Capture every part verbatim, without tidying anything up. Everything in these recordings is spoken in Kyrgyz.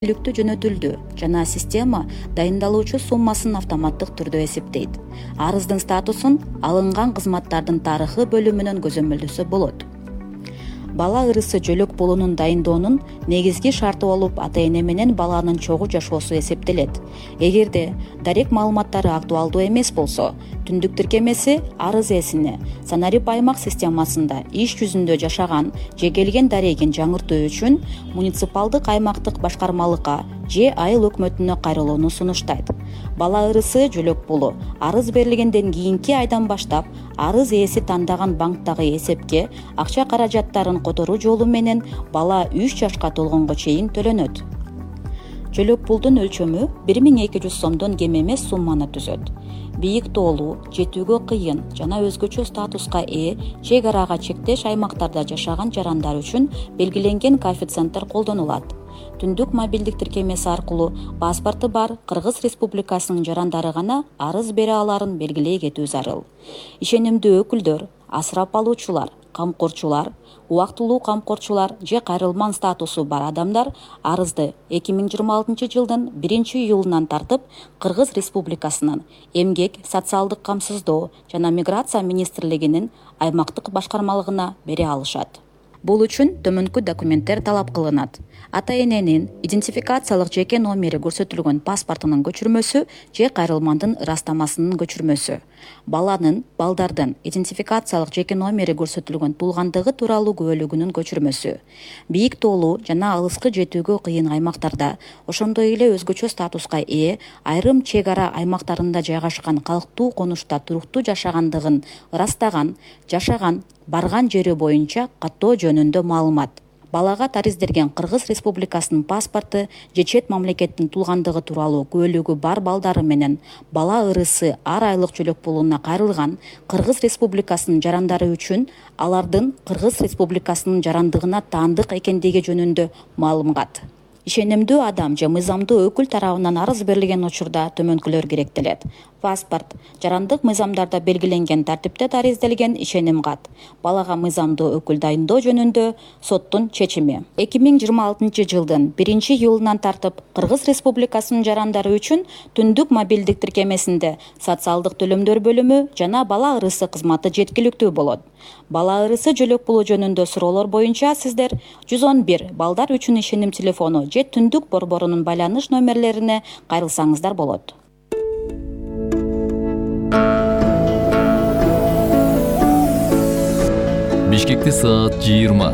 иликтөө жөнөтүлдү жана система дайындалуучу суммасын автоматтык түрдө эсептейт. Арыздын статусун алынган кызматтардын тарыхы бөлүмүнөн көзөмөлдөсө болот. Бала ырысы жөлөк пулунун дайындоонун негизги шарты болуп, ата-эне менен баланын чогуу жашоосу эсептелет. Эгерде дарек маалыматтары актуалдуу эмес болсо, түндүк тиркемеси арыз ээсине санарип аймак системасында иш жүзүндө жашаган же келген дарегин жаңыртуу үчүн муниципалдык аймактык башкармалыкка же айыл өкмөтүнө кайрылууну сунуштайт. Бала ырысы жөлөк пулу арыз берилгенден кийинки айдан баштап арыз ээси тандаган банктагы эсепке акча каражаттарын которуу жолу менен бала үч жашка толгонго чейин төлөнөт. Жөлөк пулдун өлчөмү бир миң эки жүз сомдон кем эмес сумманы түзөт. Бийик тоолуу, жетүүгө кыйын жана өзгөчө статуска ээ чек арага чектеш аймактарда жашаган жарандар үчүн белгиленген коэффициенттер колдонулат. Түндүк мобилдик тиркемеси аркылуу паспорту бар Кыргыз Республикасынын жарандары гана арыз бере аларын белгилей кетүү зарыл. Ишенимдүү өкүлдөр, асырап алуучулар, камкорчулар, убактылуу камкорчулар же кайрылман статусу бар адамдар арызды эки миң жыйырма алтынчы жылдын биринчи июлунан тартып Кыргыз Республикасынын Эмгек, социалдык камсыздоо жана миграция министрлигинин аймактык башкармалыгына бере алышат. Бул үчүн төмөнкү документтер талап кылынат. Ата-эненин идентификациялык жеке номери көрсөтүлгөн паспортунун көчүрмөсү же кайрылмандын ырастамасынын көчүрмөсү. Баланын, балдардын идентификациялык жеке номери көрсөтүлгөн туулгандыгы тууралуу күбөлүгүнүн көчүрмөсү. Бийик тоолуу жана алыскы жетүүгө кыйын аймактарда, ошондой эле өзгөчө статуска ээ айрым чек ара аймактарында жайгашкан калктуу конушта туруктуу жашагандыгын ырастаган, жашаган, барган жери боюнча каттоо жөнүндө маалымат. Балага тариздерген Кыргыз Республикасынын паспорту же чет мамлекеттин туулгандыгы тууралуу күбөлүгү бар балдары менен бала ырысы ар айлык жөлөк пулуна кайрылган Кыргыз Республикасынын жарандары үчүн алардын Кыргыз Республикасынын жарандыгына таандык экендиги жөнүндө маалымат. Ишенимдүү адам же мыйзамдуу өкүл тарабынан арыз берилген учурда төмөнкүлөр керектелет. Паспорт, жарандык мыйзамдарда белгиленген тартипте тариздалген ишеним кат, балага мыйзамдуу өкүл дайындоо жөнүндө соттун чечими. эки миң жыйырма алтынчы жылдын биринчи июлунан тартып Кыргыз Республикасынын жарандары үчүн түндүк мобилдик тиркемесинде социалдык төлөмдөр бөлүмү жана бала ырысы кызматы жеткиликтүү болот. Бала ырысы жөлөк пулу жөнүндө суроолор боюнча сиздер жүз он бир балдар үчүн ишеним телефону же түндүк борборунун байланыш номерлерине кайрылсаңыздар болот. Бишкекте саат жыйырма.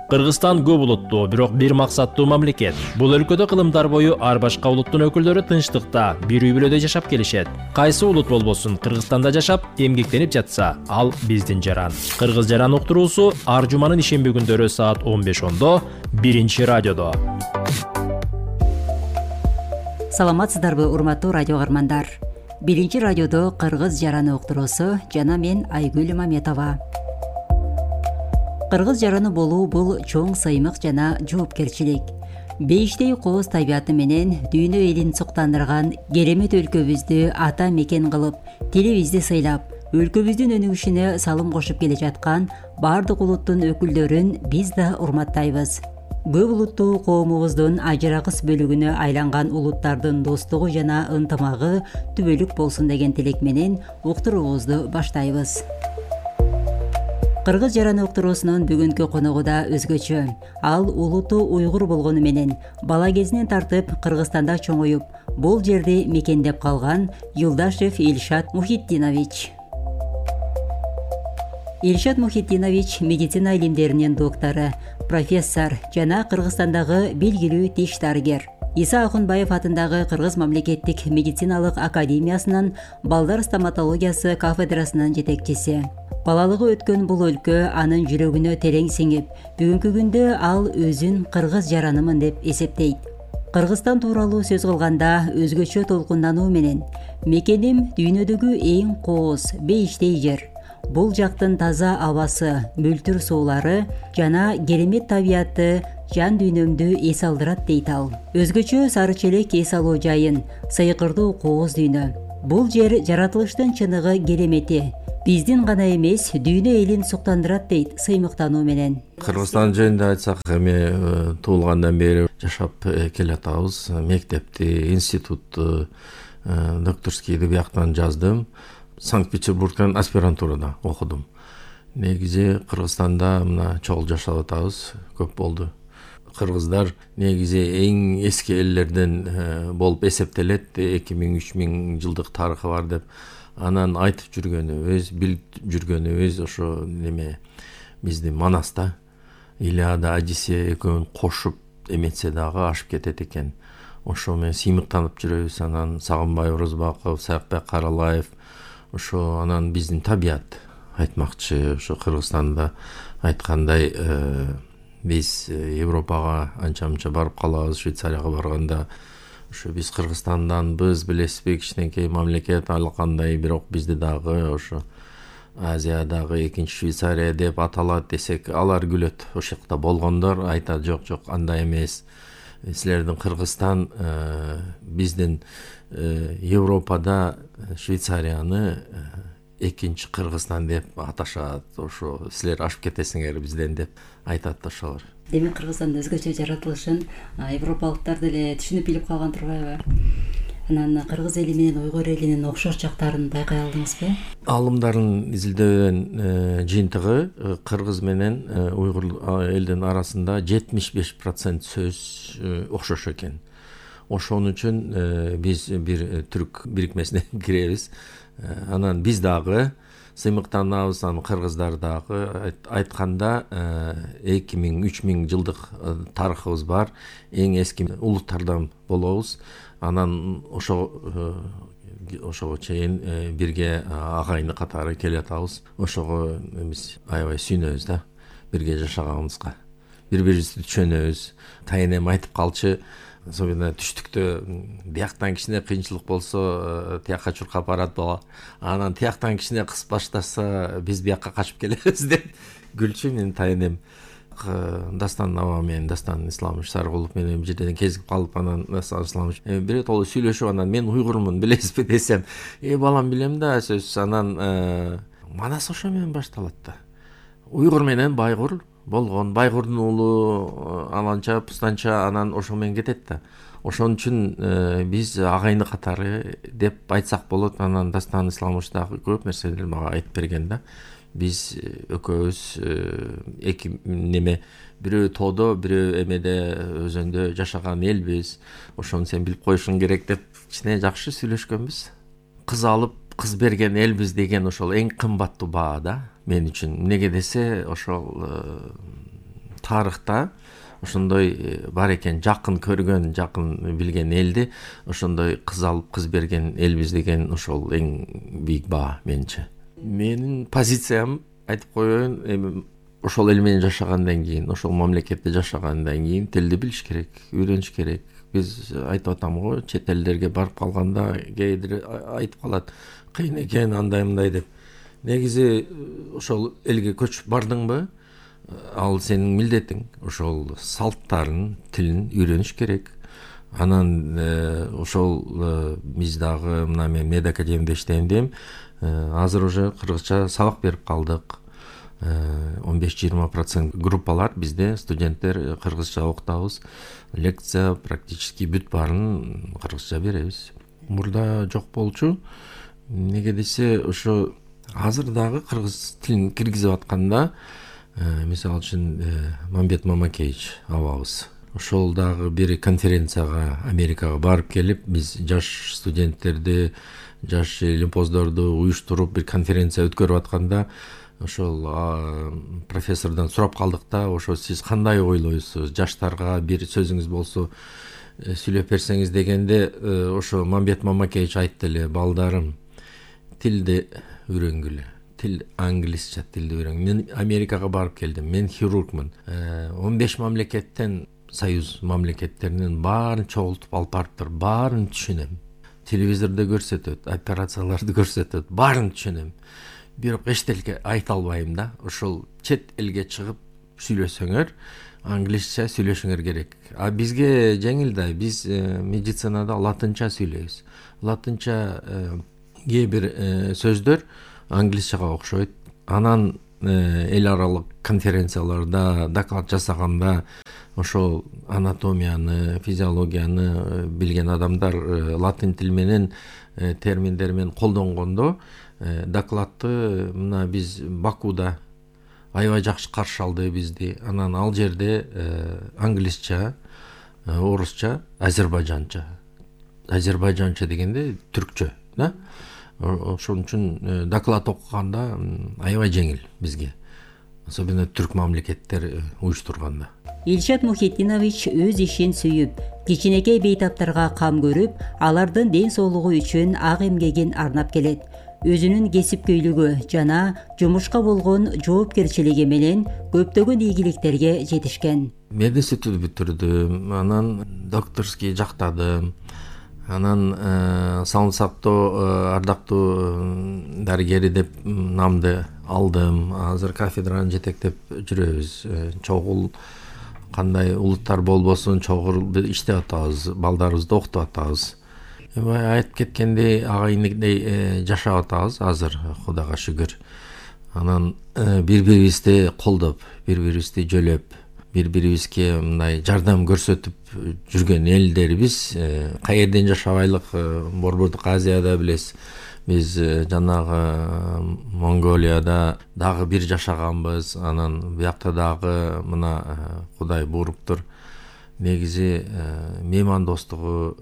Кыргызстан көп улуттуу, бирок бир максаттуу мамлекет. Бул өлкөдө кылымдар бою ар башка улуттун өкүлдөрү тынчтыкта, бир үй бүлөдө жашап келишет. Кайсы улут болбосун Кыргызстанда жашап, эмгектенип жатса, ал биздин жаран. Кыргыз жаран уктуруусу ар жуманын ишемби күндөрү саат он беш ондо биринчи радиодо. Саламатсыздарбы, урматтуу радио каармандар. Биринчи радиодо Кыргыз жараны уктуруусу жана мен Айгүл Маметова. Кыргыз жараны болуу бул чоң сыймык жана жоопкерчилик. Бейиштей кооз табияты менен дүйнө элин суктандырган керемет өлкөбүздү ата мекен кылып, тилибизди сыйлап, өлкөбүздүн өнүгүшүнө салым кошуп келе жаткан бардык улуттун өкүлдөрүн биз да урматтайбыз. Көп улуттуу коомубуздун ажырагыс бөлүгүнө айланган улуттардын достугу жана ынтымагы түбөлүк болсун деген тилек менен уктуруубузду баштайбыз. Кыргыз жараны уктуруусунун бүгүнкү коногу да өзгөчө. Ал улуту уйгур болгону менен бала кезинен тартып Кыргызстанда чоңоюп, бул жерди мекендеп калган Юлдашев Ильшат Мухитдинович. Ильшат Мухитдинович медицина илимдеринин доктору, профессор жана Кыргызстандагы белгилүү тиш дарыгер. Иса Акунбаев атындагы Кыргыз мамлекеттик медициналык академиясынын балдар стоматологиясы кафедрасынын жетекчиси. Балалыгы өткөн бул өлкө анын жүрөгүнө терең сиңип, бүгүнкү күндө ал өзүн кыргыз жаранымын деп эсептейт. Кыргызстан тууралуу сөз кылганда өзгөчө толкундануу менен мекеним дүйнөдөгү эң кооз, бейиштей жер. Бул жактын таза абасы, мөлтүр суулары жана керемет табияты жан дүйнөмдү эс алдырат дейт ал. Өзгөчө сары челек эс алуу жайын, сыйкырдуу кооз дүйнө. Бул жер жаратылыштын чыныгы керемети, биздин гана эмес дүйнө элин суктандырат дейт сыймыктануу менен. Кыргызстан жөнүндө айтсак, эми туулгандан бери жашап келатабыз. Мектепти, институтту, докторскийди бияктан жаздым. Санкт-Петербургдан аспирантурада окудум. Негизи Кыргызстанда мына чогул жашап атабыз, көп болду. Кыргыздар негизи эң эски элдерден болуп эсептелет. эки миң үч миң жылдык тарыхы бар деп анан айтып жүргөнүбүз, билип жүргөнүбүз ошо неме биздин Манаста Илиада, Одиссея экөөнүн кошуп эметсе дагы ашып кетет экен. Ошо менен сыймыктанып жүрөбүз. Анан Сагынбай Орозбаков, Саякбек Каралаев, ошо анан биздин табият айтмакчы. Ошо Кыргызстанда айткандай биз Европага анча-мынча барып калабыз. Швейцарияга барганда ошо биз Кыргызстанданбыз, билесизби, кичинекей мамлекет, ал кандай, бирок бизди дагы ошо Азиядагы экинчи Швейцария деп аталат десек, алар күлөт. Ошол жакта болгондор айтат, жок жок, андай эмес. Силердин Кыргызстан биздин Европада Швейцарияны экинчи Кыргызстан деп аташат. Ошо силер ашып кетесиңер бизден деп айтат ошолор. Демек Кыргызстандын өзгөчө жаратылышын европалыктар деле түшүнүп билип калган турбайбы? Анан кыргыз эли менен уйгур элинин окшош жактарын байкай алдыңызбы? Алымдардын изилдөөнүн жыйынтыгы кыргыз менен уйгур элдин арасында жетимиш беш процент сөз окшош экен. Ошон үчүн биз бир түрк бирикмесине киребиз. Анан биз дагы сыймыктанабыз, анан кыргыздар дагы. Айтканда эки миң үч миң жылдык тарыхыбыз бар. Эң эски улуттардан болобуз. Анан ошо ошого чейин бирге агайыны катары келатабыз. Ошого биз аябай сүйүнөбүз да, бирге жашаганыбызга. Бири-бирибизди түшөнөбүз. Тайынем айтып калчы, особенно түштүктө бияктан кичине кыйынчылык болсо тиякка чуркап барат бала. Анан тияктан кичине кыс баштаса биз биякка качып келебиз деп күлчү менин тайынем. Дастан аба менен Дастан Исламович Сарыгулов менен бир жерден кезип калып, анан Дастан Исламович бир жолу сүйлөшүп, анан мен уйгурмун билесизби десем, э балам билем да сөз. Анан Манас ошо менен башталат да. Уйгур менен байгур болгон, байгурдун уулу аланча пустанча, анан ошо менен кетет да. Ошон үчүн биз агайыны катары деп айтсак болот. Анан Дастан Исламович дагы көп нерселерди мага айтып берген да. Биз экөөбүз эки неме, бирөө тоодо, бирөө эмеде өзөндө жашаган элбиз. Ошону сен билип коюшуң керек деп кичине жакшы сүйлөшкөнбүз. Кыз алып, кыз берген элбиз деген ошол эң кымбаттуу баа да мен үчүн. Эмнеге десе, ошол тарыхта ошондой бар экен, жакын көргөн, жакын билген элди ошондой кыз алып, кыз берген элбиз деген ошол эң бийик баа менче. Менин позициям айтып коеюн, эми ошол эл менен жашагандан кийин, ошол мамлекетте жашагандан кийин тилди билиш керек, үйрөнүш керек. Биз айтып атам го, чет элдерге барып калганда кээдир айтып калат, кыйын экен андай мындай деп. Негизи ошол элге көчүп бардыңбы, ал сенин милдетиң. Ошол салттарын, тилин үйрөнүш керек. Анан ошол биз дагы мына мен мед академияда иштейм дейм. Азыр уже кыргызча сабак берип калдык. он беш жыйырма процент группалар бизде студенттер кыргызча окутабыз. Лекция практически бүт баарын кыргызча беребиз. Мурда жок болчу. Неге десе, ошо азыр дагы кыргыз тилин киргизип атканда, мисалы үчүн Мамбет Мамакеевич абабыз ошол дагы бир конференцияга Америкага барып келип, биз жаш студенттерди, жаш лимпоздорду уюштуруп бир конференция өткөрүп атканда, ошол профессордон сурап калдык да, ошо сиз кандай ойлойсуз, жаштарга бир сөзүңүз болсо сүйлөп берсеңиз дегенде, ошо Мамбет Мамакеевич айтты эле, балдарым, тилди үйрөнгүлө. Тил англисча тилди үйрөнгүлө. Мен Америкага барып келдим. Мен хирургмун. он беш мамлекеттен, союз мамлекеттеринин баарын чогултуп алып барыптыр. Баарын түшүнөм. Телевизордо көрсөтөт, операцияларды көрсөтөт, баарын түшүнөм. Бирок эчтеке айта албайм да. Ошол чет элге чыгып сүйлөсөңөр, англисча сүйлөшүңөр керек. А бизге жеңил да, биз медицинада латынча сүйлөйбүз. Латынча кээ бир сөздөр англисчага окшойт. Анан эл аралык конференцияларда доклад жасаганда ошол анатомияны, физиологияны билген адамдар латин тил менен терминдер менен колдонгондо докладты мына биз Бакуда аябай жакшы каршы алды бизди. Анан ал жерде англисча, орусча, азербайжанча. Азербайжанча дегенде түркчө, да? Ошон үчүн доклад окуганда аябай жеңил бизге. Особенно түрк мамлекеттер уюштурганда. Илшат Мухитдинович өз ишин сүйүп, кичинекей бейтаптарга кам көрүп, алардын ден соолугу үчүн ак эмгегин арнап келет. Өзүнүн кесипкөйлүгү жана жумушка болгон жоопкерчилиги менен көптөгөн ийгиликтерге жетишкен. Мединститут бүтүрдүм, анан докторский жактадым. Анан саламат сактоо ардактуу дарыгери деп намды алдым. Азыр кафедранын жетектеп жүрөбүз. Чогул кандай улуттар болбосун чогул иштеп атабыз, балдарыбызды окутуп атабыз. Айтып кеткендей агайындей жашап атабыз азыр, Кудайга шүгүр. Анан бири-бирибизди колдоп, бири-бирибизди жөлөп, бири-бирибизге мындай жардам көрсөтүп жүргөн элдербиз. Каерден жашабайлык, Борбордук Азияда билесиз, биз жанагы Монголияда дагы бир жашаганбыз. Анан биякта дагы мына Кудай буйруптур. Негизи меймандостугу.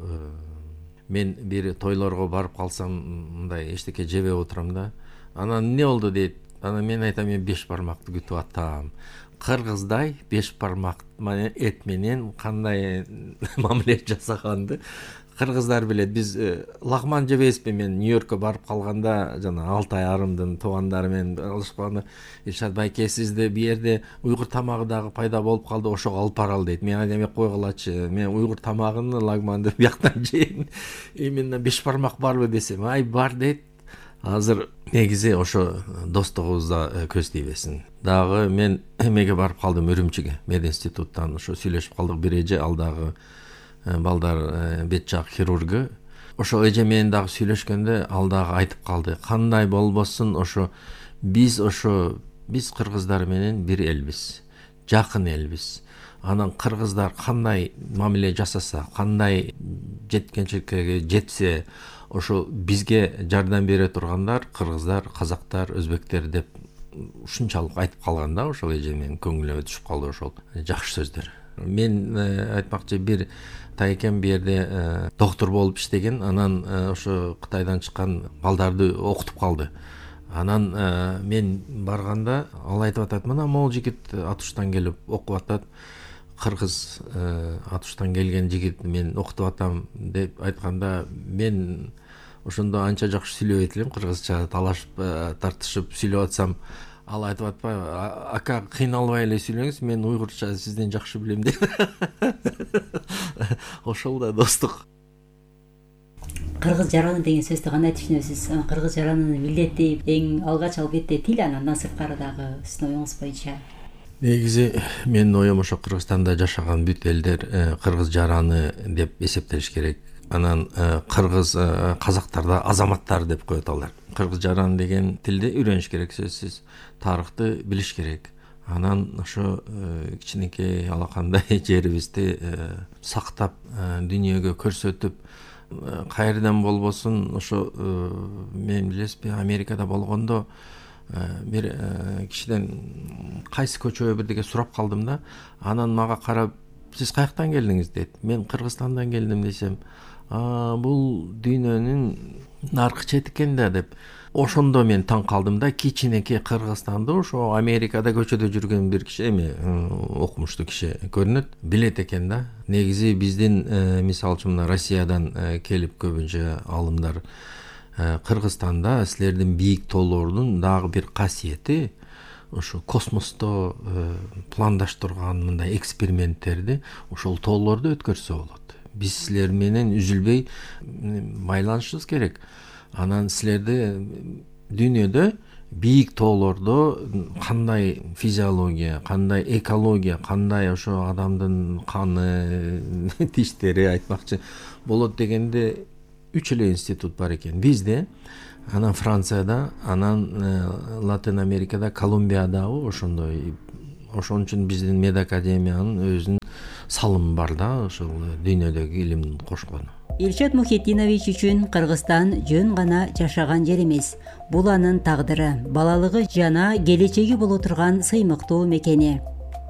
Мен бир тойлорго барып калсам, мындай эчтеке жебеп отурам да. Анан эмне болду дейт. Анан мен айтам, мен беш бармакты күтүп атам. Кыргыздай беш бармак эт менен кандай мамиле жасаганды кыргыздар билет. Биз лагман жебейбизби? Мен Нью-Йоркко барып калганда жана Алтай арымдын туугандары менен алышканда, Илшат байке, сизде бу жерде уйгур тамагы дагы пайда болуп калды, ошого алып баралы дейт. Мен айтам, койгулачы, мен уйгур тамагын, лагманды бияктан жейм. Именно беш бармак барбы десем, ай бар дейт. Азыр негизи ошо достугубузда көз тийбесин. Дагы мен эмеге барып калдым, Үрүмчүгө, мединституттан ошо сүйлөшүп калдык бир эже, ал дагы балдар бет жак хирургу. Ошо эже менен дагы сүйлөшкөндө ал дагы айтып калды, кандай болбосун ошо биз ошо биз кыргыздар менен бир элбиз, жакын элбиз. Анан кыргыздар кандай мамиле жасаса, кандай жеткенчиликке жетсе, ошо бизге жардам бере тургандар кыргыздар, казактар, өзбектер деп ушунчалык айтып калган да. Ошол эже менин көңүлүмө түшүп калды ошол жакшы сөздөр. Мен айтмакчы, бир тайкем бу жерде доктор болуп иштеген. Анан ошо Кытайдан чыккан балдарды окутуп калды. Анан мен барганда ал айтып атат, мына могул жигит Атуштан келип окуп атат. Кыргыз Атуштан келген жигит мен окутуп атам деп айтканда, мен ошондо анча жакшы сүйлөбөйт элем, кыргызча талашып, тартышып сүйлөп атсам, ал айтып атпайбы, ака кыйналбай эле сүйлөңүз, мен уйгурча сизден жакшы билем деп. Ошол да достук. Кыргыз жараны деген сөздү кандай түшүнөсүз? Кыргыз жаранын милдети эң алгач албетте тил, андан сырткары дагы сиздин оюңуз боюнча. Негизи менин оюм ошо Кыргызстанда жашаган бүт элдер кыргыз жараны деп эсептелиш керек. Анан кыргыз казактарда азаматтар деп коет алар. Кыргыз жараны деген тилди үйрөнүш керек, сөзсүз. Тарыхты билиш керек. Анан ошо кичинекей алакандай жерибизди сактап, дүйнөгө көрсөтүп, каерден болбосун ошо мен билесизби, Америкада болгондо бир кишиден кайсы көчөгө бирдеге сурап калдым да. Анан мага карап, сиз каяктан келдиңиз дейт. Мен Кыргызстандан келдим десем, бул дүйнөнүн наркы чети экен да деп. Ошондо мен таң калдым да, кичинекей Кыргызстанды ошо Америкада көчөдө жүргөн бир киши, эми окумуштуу киши көрүнөт, билет экен да. Негизи биздин мисалы үчүн мына Россиядан келип көбүнчө алымдар Кыргызстанда силердин бийик тоолордун дагы бир касиети ошо космосто пландаштырган мындай эксперименттерди ошол тоолордо өткөрсө болот. Биз силер менен үзүлбөй байланышыбыз керек. Анан силерди дүйнөдө бийик тоолордо кандай физиология, кандай экология, кандай ошо адамдын каны, тиштери айтмакчы болот дегенде үч эле институт бар экен бизде, анан Францияда, анан Латин Америкада, Колумбиядагы ошондой. Ошон үчүн биздин медакадемиянын өзүнүн салымы бар да, ошол дүйнөдөгү илимдин кошкону. Илшат Мухитдинович үчүн Кыргызстан жөн гана жашаган жер эмес. Бул анын тагдыры, балалыгы жана келечеги боло турган сыймыктуу мекени.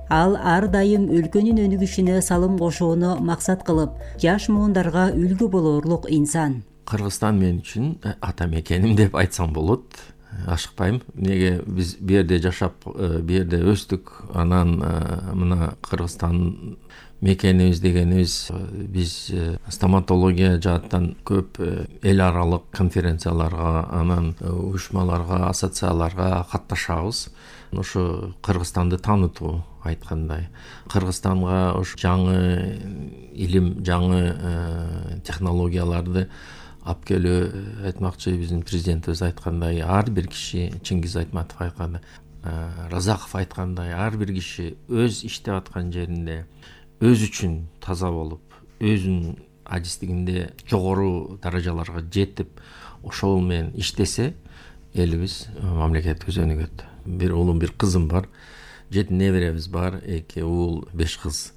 Ал ар дайым өлкөнүн өнүгүшүнө салым кошууну максат кылып, жаш муундарга үлгү болорлук инсан. Кыргызстан мен үчүн ата мекеним деп айтсам болот. Ашыкпайм. Неге биз бу жерде жашап, бу жерде өстүк. Анан мына Кыргызстан мекенибиз дегенибиз, биз стоматология жааттан көп эл аралык конференцияларга, анан уюшмаларга, ассоциацияларга катташабыз. Ошо Кыргызстанды таанытуу айткандай. Кыргызстанга ош жаңы илим, жаңы технологияларды алып келүү айтмакчы. Биздин президентибиз айткандай, ар бир киши, Чингиз Айтматов айткандай, Разаков айткандай, ар бир киши өз иштеп аткан жеринде өз үчүн таза болуп, өзүнүн адистигинде жогору даражаларга жетип, ошол менен иштесе, элибиз, мамлекетибиз өнүгөт. Бир улум, бир кызым бар, жети неберебиз бар, эки уул, беш кыз.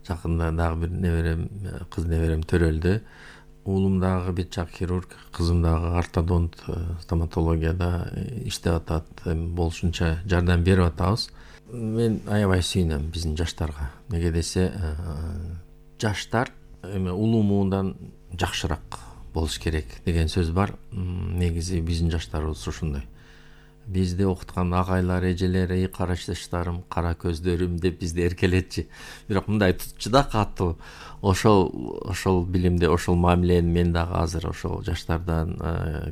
Жакында дагы бир неберем, кыз неберем төрөлдү. Уулум дагы бет жак хирург, кызым дагы ортодонт, стоматологияда иштеп атат. Болушунча жардам берип атабыз. Мен аябай сүйүнөм биздин жаштарга. Неге десе, жаштар эме улуу муундан жакшыраак болуш керек деген сөз бар. Негизи биздин жаштарыбыз ушундай. Бизди окуткан агайлар, эжелер, эй карашташтарым, кара көздөрүм деп бизди эркелетчи. Бирок мындай тутчу да катуу. Ошол ошол билимди, ошол мамилени мен дагы азыр ошол жаштардан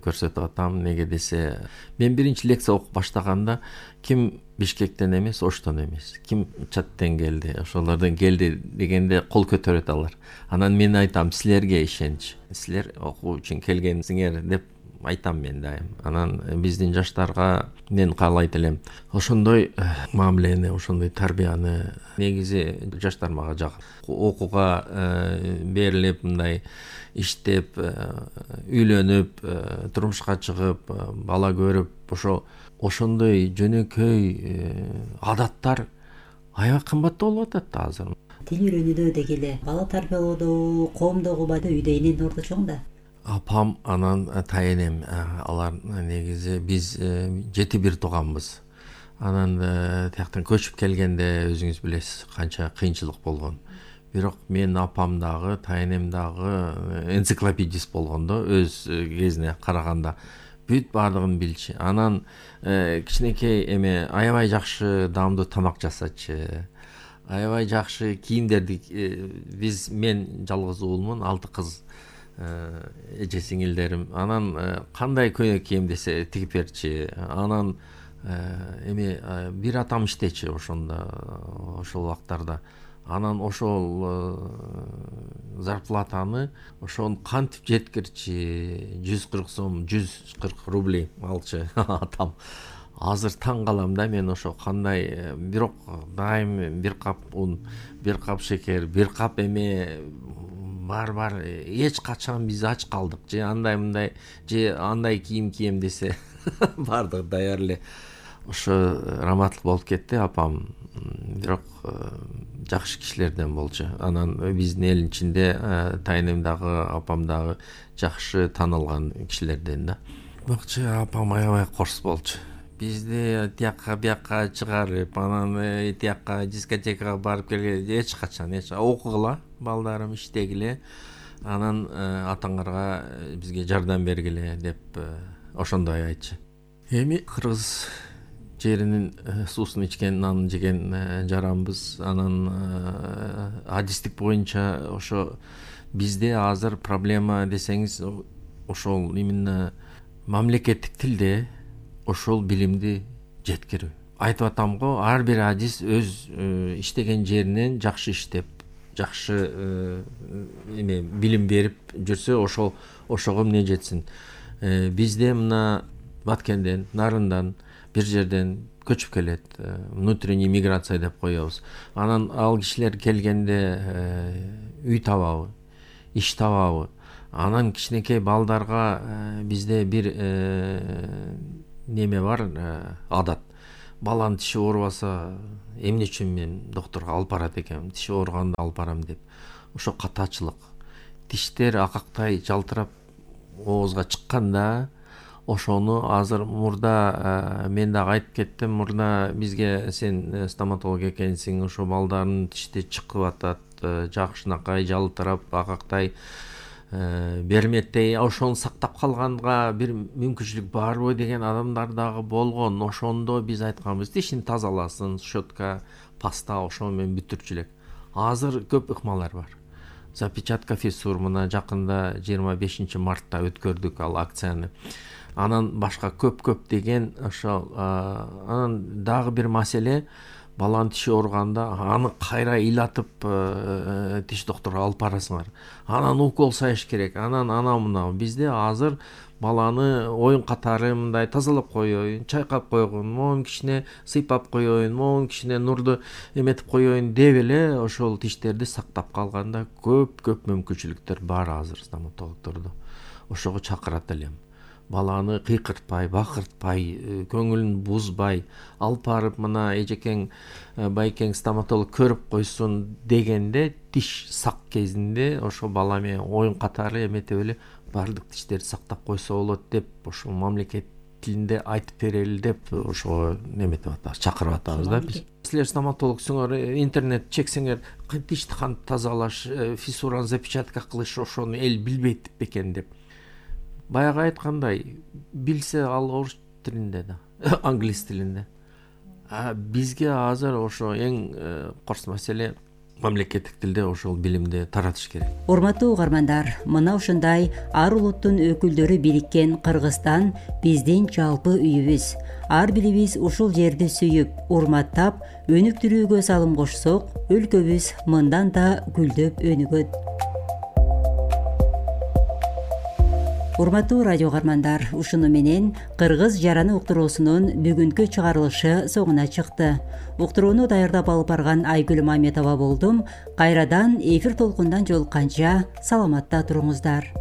көрсөтүп атам. Неге десе, мен биринчи лекция окуп баштаганда ким Бишкектен эмес, Оштон эмес, ким Чаттен келди, ошолордон келди дегенде кол көтөрөт алар. Анан мен айтам, силерге ишенч. Силер окуу үчүн келгенсиңер деп айтам мен дайым. Анан биздин жаштарга мен каалайт элем ошондой мамилени, ошондой тарбияны. Негизи жаштар мага жагат. Окууга берилип, мындай иштеп, үйлөнүп, турмушка чыгып, бала көрүп, ошо ошондой жөнөкөй адаттар аябай кымбаттуу болуп атат да азыр. Тил үйрөнүүдө деги эле, бала тарбиялоодо, коомдогу убада үйдө эненин орду чоң да. Апам, анан тайенем, алар негизи биз жети бир тууганбыз. Анан тияктан көчүп келгенде өзүңүз билесиз канча кыйынчылык болгон. Бирок мен апам дагы, тайенем дагы энциклопедист болгондо, өз кезине караганда бүт баардыгын билчү. Анан кичинекей эме аябай жакшы даамдуу тамак жасачы. Аябай жакшы кийимдерди, биз мен жалгыз уулмун, алты кыз эже сиңилдерим. Анан кандай көйнөк кийем десе тигип берчи. Анан эме бир атам иштечи ошондо, ошол убактарда. Анан ошол зарплатаны ошон кантип жеткирчи, жүз кырк сом, жүз кырк рублей алчы атам. Азыр таң калам да мен ошо кандай, бирок дайым бир кап un, бир кап шекер, бир кап эме бар-бар, эч качан биз ач калдык же андай мындай же андай кийим кийем десе баардыгы даяр эле. Ошо раматтылык болуп кетти апам. Бирок жакшы кишилерден болчу. Анан биздин элдин ичинде тайенем дагы, апам дагы жакшы таанылган кишилерден да. Бакчы апам аябай корс болчу. Бизди тиякка биякка чыгарып, анан тиякка дискотекага барып келгенде эч качан, эч окугула, балдарым иштегиле, анан атаңарга бизге жардам бергиле деп ошондой айтчы. Эми кыргыз жеринин суусун ичкен, нанын жеген жаранбыз. Анан адистик боюнча ошо бизде азыр проблема десеңиз, ошол именно мамлекеттик тилде ошол билимди жеткирүү. Айтып атам го, ар бир адис өз иштеген жеринен жакшы иштеп, жакшы эме билим берип жүрсө, ошол ошого эмне жетсин. Бизде мына Баткенден, Нарындан, бир жерден көчүп келет, внутренний миграция деп коебуз. Анан ал кишилер келгенде үй табабы, иш табабы. Анан кичинекей балдарга бизде бир неме бар, адат. Баланын тиши оорубаса, эмне үчүн мен докторго алып барат экенмин, тиши ооруганда алып барам деп. Ошо катачылык. Тиштер акактай жалтырап оозго чыкканда, ошону азыр мурда мен дагы айтып кеттим, мурда бизге сен стоматолог экенсиң, ошо балдардын тишти чыгып атат, жакшынакай жалтырап, акактай берметтей, ошону сактап калганга бир мүмкүнчүлүк барбы деген адамдар дагы болгон. Ошондо биз айтканбыз, тишин тазаласын, щетка, паста, ошо менен бүтүрчү элек. Азыр көп ыкмалар бар. Запечатка фиссур мына жакында жыйырма бешинчи мартта өткөрдүк ал акцияны. Анан башка көп-көп деген ошо анан дагы бир маселе, баланын тиши ооруганда аны кайра ыйлатып тиш докторуна алып барасыңар. Анан укол салыш керек. Анан ана мына бизде азыр баланы оюн катары мындай тазалап коеюн, чайкап койгон, могун кичине сыйпап коеюн, могун кичине нурду эметип коеюн деп эле ошол тиштерди сактап калганда көп-көп мүмкүнчүлүктөр бар азыр стоматологдордо. Ошого чакырат элем. Баланы кыйкыртпай, бакыртпай, көңүлүн бузбай, алып барып мына эжекең, байкең стоматолог көрүп койсун дегенде, тиш сак кезинде ошо бала менен оюн катары эметип эле баардык тиштерди сактап койсо болот деп, ошо мамлекет тилинде айтып берели деп ошого неметип атабыз, чакырып атабыз да биз. Силер стоматологсуңар, интернет чексеңер, тишти кантип тазалаш, фиссураны запечатка кылыш, ошону эл билбейт бекен деп. Баягы айткандай, билсе ал орус тилинде да, англис тилинде. А бизге азыр ошо эң корс маселе мамлекеттик тилде ошол билимди таратыш керек. Урматтуу угармандар, мына ушундай ар улуттун өкүлдөрү бириккен Кыргызстан биздин жалпы үйүбүз. Ар бирибиз ушул жерди сүйүп, урматтап, өнүктүрүүгө салым кошсок, өлкөбүз мындан да гүлдөп өнүгөт. Урматтуу радио угармандар, ушуну менен Кыргыз жараны уктуруусунун бүгүнкү чыгарылышы соңуна чыкты. Уктурууну даярдап алып барган Айгүл Маметова болдум. Кайрадан эфир толкундан жолукканча саламатта туруңуздар.